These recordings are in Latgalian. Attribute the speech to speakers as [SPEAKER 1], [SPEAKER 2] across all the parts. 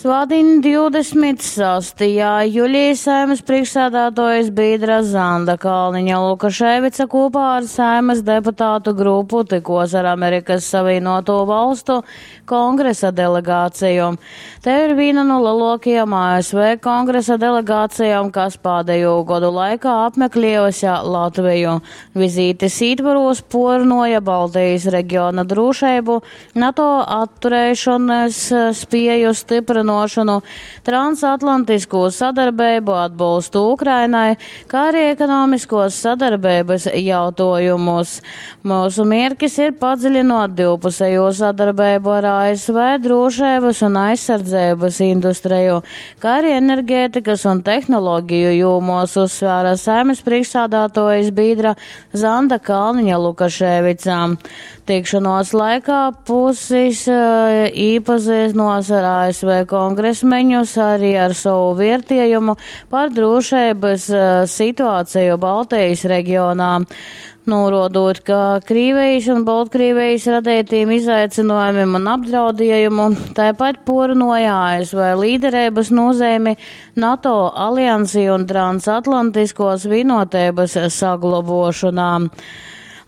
[SPEAKER 1] Svātdiņ 26. juļī Saeimas prīšksādātuojis bīdra Zanda Kalniņa Lukaševica kūpā ar Saeimas deputātu grupu tykuos ar Amerikas Savīnuotū Valstu kongresa delegāciju. Tei ir vīna nu leluokajom ASV kongresa delegācijom, kas pādejū godu laikā apmeklējuse Latviju. Vizītes ītvorūs puorrunuoja Baltejis regiona drūšeibu, NATO atturēšonys spieju styprynuošonu, transatlantiskū sadarbeibu, atbolstu Ukrainai, kā arī ekonomiskuos sadarbeibys jautuojumus. Myusu mierkis ir padziļinuot divpusejū sadarbeibu ar ASV drūšeibys un aizsardzeibys industreju, kā arī energētikas un tehnologiju jūmuos, uzsvēra Saeimas prīšksādātuojis bīdra Zanda Kalniņa Lukaševica. Tikšanuos laikā pusis īpazynuos ar ASV kongresmeņus arī ar sovu viertiejumu par drūšeibys situāceju Baltejis regionā, nūruodūt, ka Krīvejis un Boltkrīvejis radeitīm izaicynuojumim un apdraudiejumu, taipat puorrunuoja ASV līdereibys nūzeimi NATO aliansī un transatlantiskuos vīnuoteibys saglobuošonā.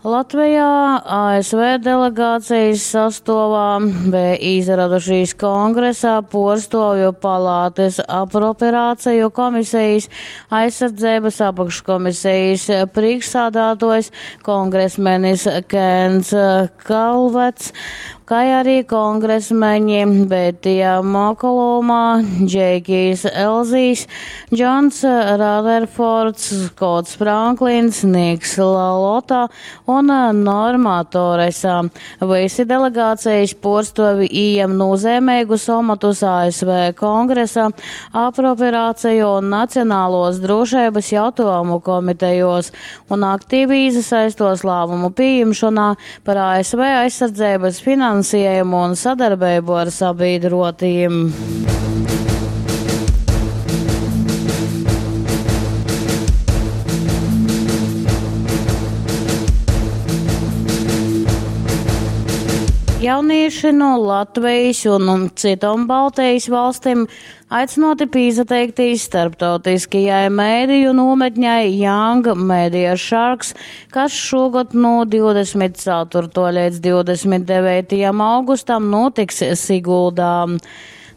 [SPEAKER 1] Latvejā ASV delegācijas sastuovā beja īsaradušīs kongresa puorstuovju palātys apropriāceju komisejis aizsardzeibys apakškomisejis prīšksādātuojs kongresmenis Kens Kalvets, kai arī kongresmeņi Betija Makolūma, Džeikijs Elzijs, Džons Raterfords, Skots Franklins, Niks Lalota un Norma Toresa. Visi delegācijas puorstuovi ījam nūzeimeigus omotus ASV kongresa apropriāceju un nacionālos drūšeibys jautuojumu komitejuos un aktīvi īsasaistuos lāmumu pījimšonā par ASV aizsardzeibys finansiejumu un sadarbeibu ar sabīdruotīm. Jaunīši no Latvejis un cytom Baltejis valstim aicynuoti pīsateiktīs starptautiskajai mediju nūmetņai Young Media Sharks, kas šogad no 24. līdz 29. augustam notiks Siguldā.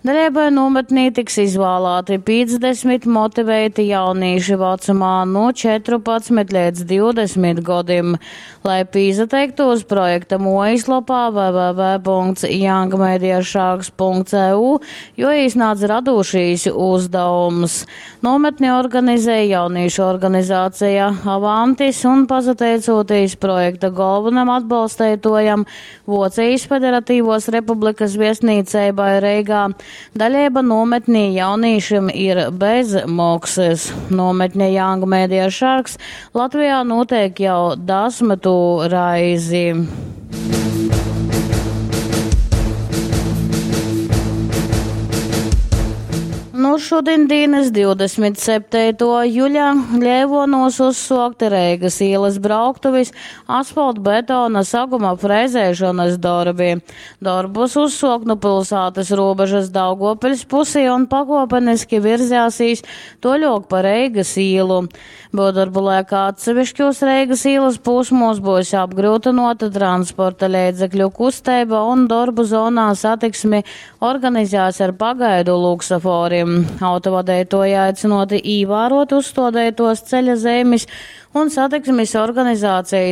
[SPEAKER 1] Daļeibai nūmetnī tiks izvālāti 50 motivēti jaunīši vecumā no 14 līdz 20 godim. Lai pīsateiktos projekta muojaslopā www.youngmediasharks.eu, juoīsnādz radūšīs uzdevums. Nometni organizē jaunīšu organizācija Avantis un pasateicūtīs projekta galvenam atbalsteitojam Vocijas Federatīvos Republikas viestnīceibai Reigā, daļeiba nometnī jaunīšim ir bez moksys. Nometne Young Media Sharks Latvijā nūteik jau dasmytū raizi. Nu šudiņdīnys 27. juļa Leivuonūs uzsuokti Reigys īlys brauktuvis asfaltbetona saguma frezeišonys dorbi. Dorbus uzsuok nu pylsātys rūbežys Daugovpiļs pusī un pakuopeniski virzēsīs tuoļuok pa Reigys īlu. Byuvdorbu laikā atsevišķūs Reigys īlys pūsmūs byus apgryutynuota transporta leidzekļu kusteiba un dorbu zonā satiksmi organizēs ar pagaidu luksaforim. Autovadeituoji aicynuoti īvāruot uzstuodeituos ceļa zeimis un satiksmis organizācejis.